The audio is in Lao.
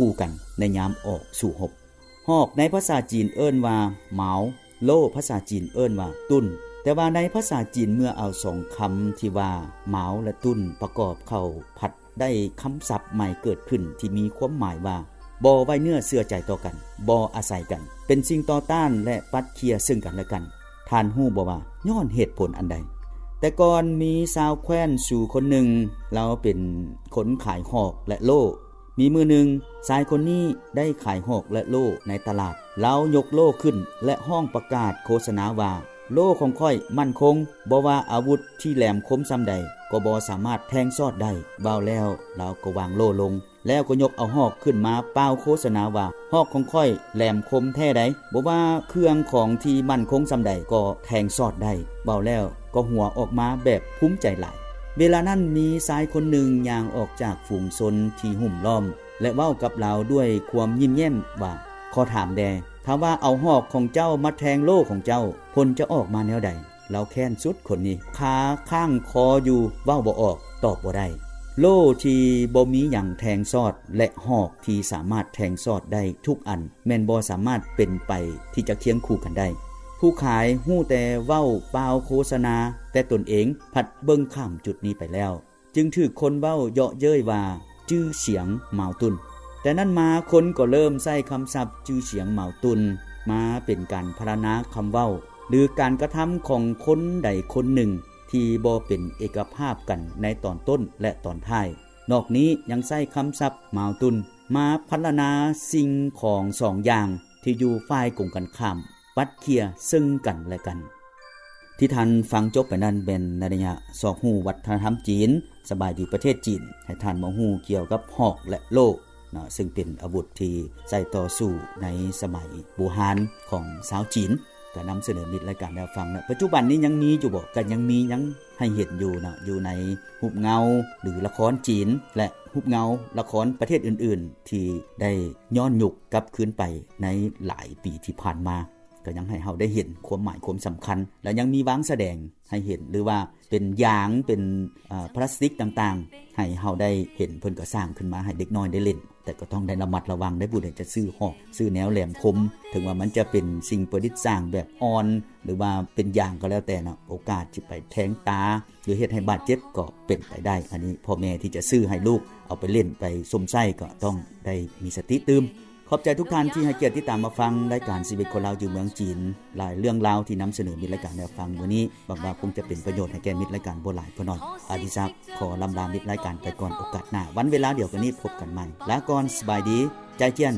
ຄູ່ກັນໃນຍາມອອກສູ້ຮົບ. ຮອກໃນພາສາຈີນເອີ້ນວ່າ ເໝາ, ໂລ່ພາສາຈີນເອີ້ນວ່າ ຕຸ້ນ. ແຕ່ວ່າໃນພາສາຈີນເມື່ອເອົາສອງຄຳທີ່ວ່າ ເໝາ ແລະ ຕຸ້ນ ປະກອບເຂົ້າ ພັດໄດ້ຄຳສັບໃໝ່ເກີດຂຶ້ນທີ່ມີຄວາມໝາຍວ່າ ບໍ່ໄວ້ເນື້ອເຊື່ອໃຈຕໍ່ກັນ, ບໍ່ອາໄສກັນ, ເປັນສິ່ງຕໍ່ຕ້ານ ແລະ ປັດເຄຍເຊິ່ງກັນແລະກັນ. ທ່ານຮູ້ບໍ່ວ່າຍ້ອນເຫດຜົນອັນໃດ? ແຕ່ກ່ອນມີຊາວແຄວ້ນຊູຄົນໜຶ່ງ, ລາວເປັນຄົນຂາຍຮອກ ແລະ ໂລ່. ມີມື້ໜຶ່ງ, ຊາຍຄົນນີ້ໄດ້ຂາຍຮອກ ແລະ ໂລ່ໃນຕະຫຼາດ. ລາວຍົກໂລ່ຂຶ້ນ ແລະ ຮ້ອງປະກາດໂຄສະນາວ່າ, ໂລ່ຂອງຂ້ອຍໝັ້ນຄົງ, ບໍ່ວ່າອາວຸດທີ່ແຫຼມຄົມສ່ຳໃດ ກໍບໍ່ສາມາດແທງຊອດໄດ້. ເວົ້າແລ້ວ, ລາວກໍວາງໂລ່ລົງ, ແລ້ວກໍຍົກເອົາຮອກຂຶ້ນມາປ່າວໂຄສະນາວ່າ, ຮອກຂອງຂ້ອຍແຫຼມຄົມແທ້ໃດ, ບໍ່ວ່າເຄື່ອງຂອງທີ່ໝັ້ນຄົງສ່ຳໃດກໍແທງຊອດໄດ້. ເວົ້າແລ້ວກໍຫົວອອກມາແບບພູມໃຈຫຼາຍ. ເວລານັ້ນມີຊາຍຄົນໜຶ່ງຍ່າງອອກຈາກຝູງຊົນທີ່ຫຸ້ມລ້ອມ ແລະ ເວົ້າກັບລາວດ້ວຍຄວາມຍິ້ມແຍ້ມວ່າ, ຂໍຖາມແດ່, ຖ້າວ່າເອົາຮອກຂອງເຈົ້າມາແທງໂລ່ຂອງເຈົ້າ, ຜົນຈະອອກມາແນວໃດ? ລາວແຄ້ນສຸດຄົນນີ້, ຄາຄ້າງຄໍຢູ່, ເວົ້າບໍ່ອອກ, ຕອບບໍ່ໄດ້. ໂລ່ທີ່ບໍ່ມີຫຍັງແທງຊອດ ແລະ ຮອກທີ່ສາມາດແທງຊອດໄດ້ທຸກອັນ ແມ່ນບໍ່ສາມາດເປັນໄປທີ່ຈະຄຽງຄູ່ກັນໄດ້. ຜູ້ຂາຍຮູ້ແຕ່ເວົ້າປ່າວໂຄສະນາ, ແຕ່ຕົນເອງພັດເບິ່ງຂ້າມຈຸດນີ້ໄປແລ້ວ, ຈຶ່ງຖືກຄົນເວົ້າເຍາະເຍີ້ຍວ່າ ຈື່ສຽງເໝາຕຸນ. ແຕ່ນັ້ນມາຄົນກໍເລີ່ມໃຊ້ຄຳສັບຈື່ສຽງເໝາຕຸນ ມາເປັນການພັນລະນາຄຳເວົ້າ ຫຼື ການກະທຳຂອງຄົນໃດຄົນໜຶ່ງທີ່ບໍ່ເປັນເອກະພາບກັນໃນຕອນຕົ້ນ ແລະ ຕອນທ້າຍ. ນອກນີ້ຍັງໃຊ້ຄຳສັບເໝາຕຸນ ມາພັນລະນາສິ່ງຂອງສອງຢ່າງທີ່ຢູ່ຝ່າຍກົງກັນຂ້າມ ປັດເຄຍເຊິ່ງກັນແລະກັນ. ທີ່ທ່ານຟັງຈົບໄປນັ້ນແມ່ນໃນໄລຍະຊອກຮູ້ວັດທະນະທຳຈີນ, ສະບາຍດີປະເທດຈີນ, ໃຫ້ທ່ານມາຮູ້ກ່ຽວກັບຮອກ ແລະ ໂລ່ເນາະ, ເຊິ່ງເປັນອາວຸດທີ່ໃຊ້ຕໍ່ສູ້ໃນສະໄໝບູຮານຂອງຊາວຈີນ. ກໍນຳສະເໜີມິດລາຍການແນວຟັງເນາະ. ປັດຈຸບັນນີ້ຍັງມີຢູ່ບໍ່? ກໍຍັງມີ, ຍັງໃຫ້ເຫັນຢູ່ເນາະ, ຢູ່ໃນຮູບເງົາ ຫຼື ລະຄອນຈີນ ແລະ ຮູບເງົາລະຄອນປະເທດອື່ນໆ ທີ່ໄດ້ຍ້ອນຍຸກກັບຄືນໄປໃນຫຼາຍປີທີ່ຜ່ານມາ. ກໍຍັງໃຫ້ເຮົາໄດ້ເຫັນຄວາມໝາຍຄວາມສຳຄັນ ແລະ ຍັງມີວາງສະແດງໃຫ້ເຫັນ ຫຼືວ່າເປັນຢາງ ເປັນ ເອີ ພລາສຕິກຕ່າງໆ ໃຫ້ເຮົາໄດ້ເຫັນ. ເພິ່ນກໍສ້າງຂຶ້ນມາໃຫ້ເດັກນ້ອຍໄດ້ຫຼິ້ນ, ແຕ່ກໍຕ້ອງໄດ້ລະມັດລະວັງໄດ້ ຜູ້ໃດຈະຊື້ຮອກ ຊື້ແນວແຫຼມຄົມ, ເຖິງວ່າມັນຈະເປັນສິ່ງປະດິດສ້າງແບບອ່ອນ ຫຼືວ່າເປັນຢາງກໍແລ້ວແຕ່ເນາະ, ໂອກາດຊິໄປແທງຕາ ຫຼື ເຮັດໃຫ້ບາດເຈັບກໍເປັນໄປໄດ້. ອັນນີ້ພໍ່ແມ່ທີ່ຈະຊື້ໃຫ້ລູກເອົາໄປຫຼິ້ນໄປຊົມໃຊ້ກໍຕ້ອງໄດ້ມີສະຕິຕື່ມ. ຂອບໃຈທຸກທ່ານທີ່ໃຫ້ກຽດຕິດຕາມມາຟັງລາຍການຊີວິດຄົນລາວຢູ່ເມືອງຈີນ ຫຼາຍເລື່ອງລາວທີ່ນຳສະເໜີມິດລາຍການແນວຟັງມື້ນີ້. ຫວັງວ່າຄົງຈະເປັນປະໂຫຍດໃຫ້ແກ່ມິດລາຍການບໍ່ຫຼາຍກໍໜ້ອຍ. ອາດິສັກຂໍລຳລາມິດລາຍການໄປກ່ອນ, ໂອກາດໜ້າວັນເວລາດຽວກັນນີ້ພົບກັນໃໝ່. ລາກ່ອນ, ສະບາຍດີ, ໃຈຈຽນ.